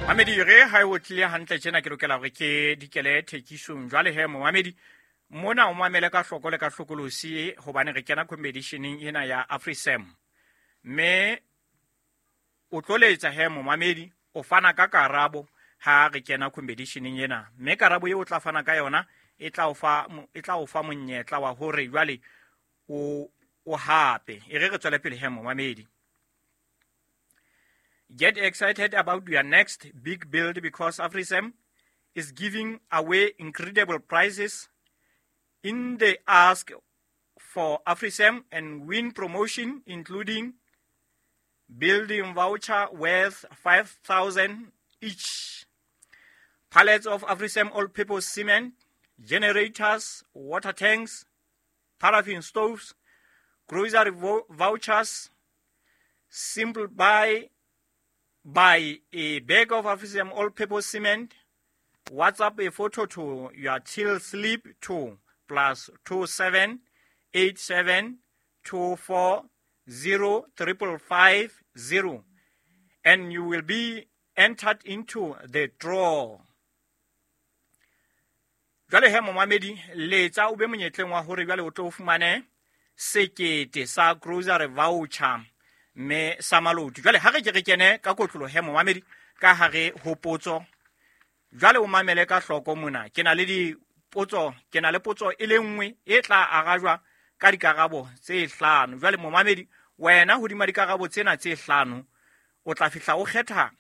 Mamedi re ha o tlile hantle tjena ke lokela hore ke dikele thekisong. Jwale he momamedi mona o mamele ka hloko le ka hlokolosi hobane re kena competitioneng ena ya AfriSam. Mme o tlo letsa he momamedi o fana ka karabo ha re kena competitioneng ena. Mme karabo eo o tla fana ka yona e tla o fa e tla o fa monyetla wa hore jwale o o hape. E re re tswele pele he momamedi. Get excited about your next big build because AfriSam is giving away incredible prizes in the Ask for AfriSam and win promotion, including building voucher worth 5,000 each, pallets of AfriSam all-purpose cement, generators, water tanks, paraffin stoves, grocery vouchers, simple buy a bag of AfriSam all-purpose cement, WhatsApp a photo to your till slip to +27 87 24 0 555 0, and you will be entered into the draw. Jwale he momamedi letsa o be monyetleng wa hore jwale o tlo fumane sekete sa grocery voucher mme sa maloti. Jwale ha re ke re kene ka kotlolo he momamedi ka hare ho potso. Jwale o mamele ka hloko mona. Ke na le dipotso, ke na le potso e le nngwe e tla arajwa ka dikarabo tse hlano. Jwale momamedi wena hodima dikarabo tsena tse hlano o tla fihla o kgetha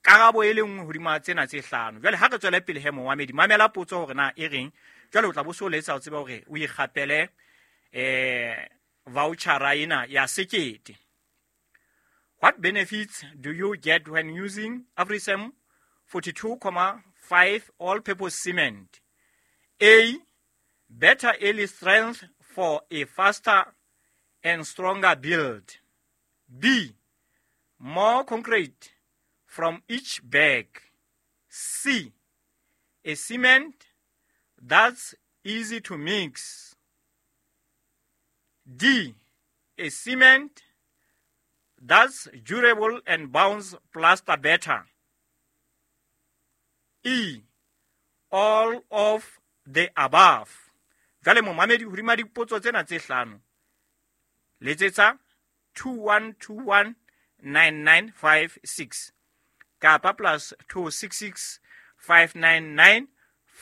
karabo e le nngwe hodima tsena tse hlano. Jwale ha re tswele pele he momamedi mamela potso hore na e reng. Jwale o tla bo so letsa o tseba hore o ikgapele voucher ena ya sekete. What benefits do you get when using AfriSam 42.5 all-purpose cement? A, better early strength for a faster and stronger build. B, more concrete from each bag. C, a cement that's easy to mix. D, a cement that's durable and bounce plaster better. E, all of the above. Jwale momamedi hodima dipotso tsena tse hlano letsetsa 2121 9956 kapa +266 599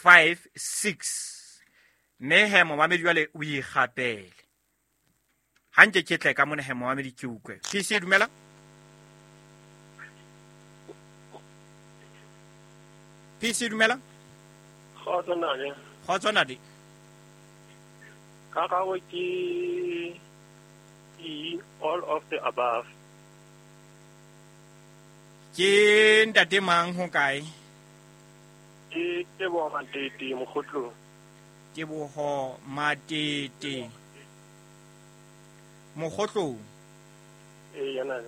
56. Mme he momamedi jwale o ikgapele. Ha nke ke tle ka mona he momamedi ke utlwe. PC dumela. PC dumela. Kgotso ntate. Kgotso ntate. Karabo ke E, all of the above. Ke ntate mang ho kae? Ke Teboho Matete Mokgotlong. Teboho Matete Mokgotlong. Ee, yana.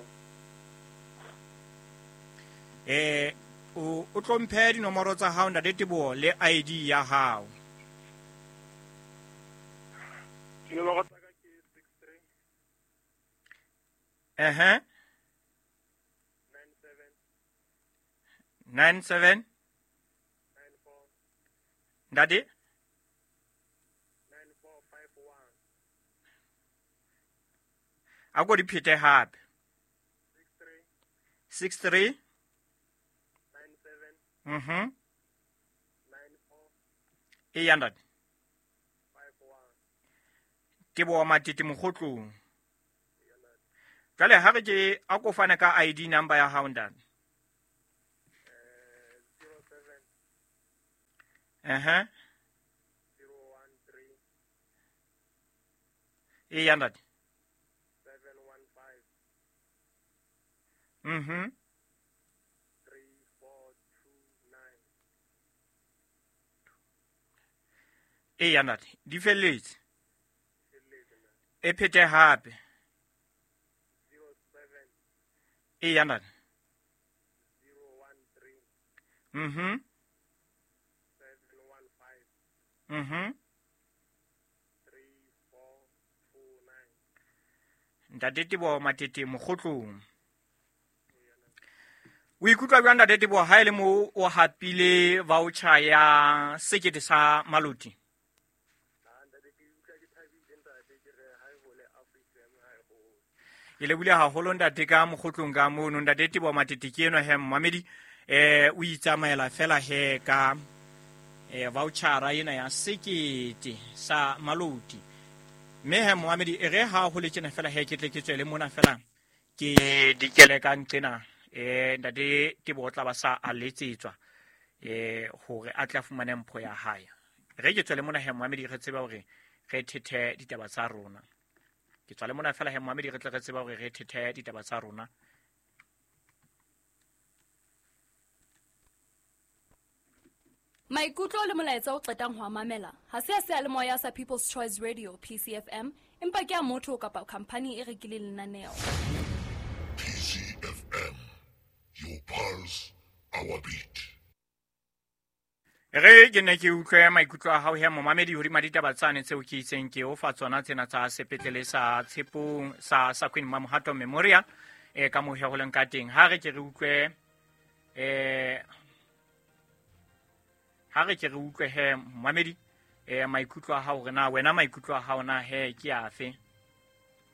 O tlo mphe dinomoro tsa hao ntate Teboho le ID ya hao. Dinomoro tsa ka ke 63. 97 97 94 ntate 9451. A ko di phete hape. 63 63 97 94 94 e ya ntate. 51. Teboho Matete Mokgotlong. Jwale ha re ke a ko fane ka ID number ya hao ntate. 07 013 e ya ntate. 715 34 3429. E ya ntate. Di felletse. E phete hape. 07 E ya ntate. 013 715 3429. Ntate Teboho Matete Mokgotlong. O ikutlwa jwang ntate Teboho ha e le mo o hapile voucher ya sekete sa Maloti? Ke lebohile haholo ntate ka mokgotlong ka mono. Ntate Teboho Matete ke enwa he mmamedi, o itsamaela fela he ka vouchera ena ya sekete sa Maloti. Mme he mmamedi, e re ha ho le tjena fela he ke tle ke tswele mona fela ke dikele ka nqena. Ntate Teboho o tla ba sa a letsetswa hore a tle a fumane mpho ya hae. Re ke tswele mona he mmamedi, re tsebe hore re thethe ditaba tsa rona. Ke tswale mona fela he mmamedi, re tle re tsebe hore re thethe ditaba tsa rona. Maikutlo le molaetsa o qetang ho a mamela ha se a seyalemoya sa People's Choice Radio PCFM, empa ke a motho kapa khamphani e rekileng lenaneo. PCFM, your pulse, our beat. Re ke ne ke utlwe maikutlo a hao he momamedi hodima ditaba tsane tseo ke itseng ke o fa tsona tsena tsa sepetlele sa Tshepong sa Queen Mamohato Memorial, ka moo he ho leng ka teng. Ha re ke re utlwe, ha re ke re utlwe he momamedi, maikutlo a hao hore na wena maikutlo a hao na he ke afe.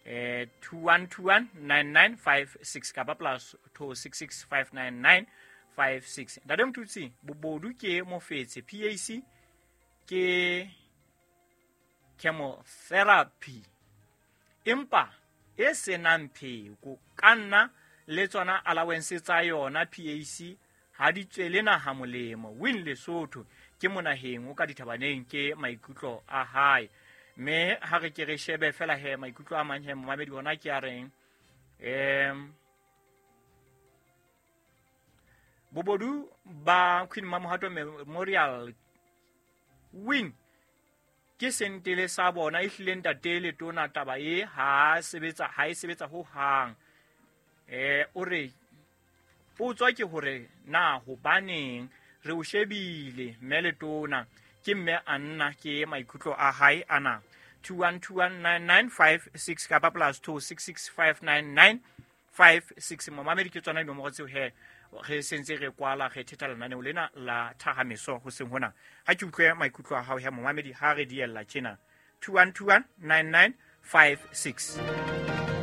21219956 kapa plus 26659956. Ntate Motutsi, bobodu ke mofetshe, PAC ke chemotherapy empa e senang pheko. Ka nna le tsona allowance tsa yona PAC ha di tswele naha molemo. Win Lesotho ke monaheng o ka dithabaneng, ke maikutlo a hae. Mme ha re ke re shebe fela he maikutlo a mang he momamedi ona ke a reng, bobodu ba Queen Mamohato Memorial win ke sentele sa bona e hlile ntate le tona taba e ha sebetsa, ha e sebetsa ho hang. O re potswa ke hore na hobaneng re o shebile mme le tona ke mme a nna, ke maikutlo a hae ana. 21219956 kapa plus 26659956. Momamedi ke tsona dinomoro tseo he re sentse re kwala re thetha lenaneo lena la Thahameso hoseng hona. Ha ke utlwe maikutlo a hao he momamedi ha re diella tjena. 21219956.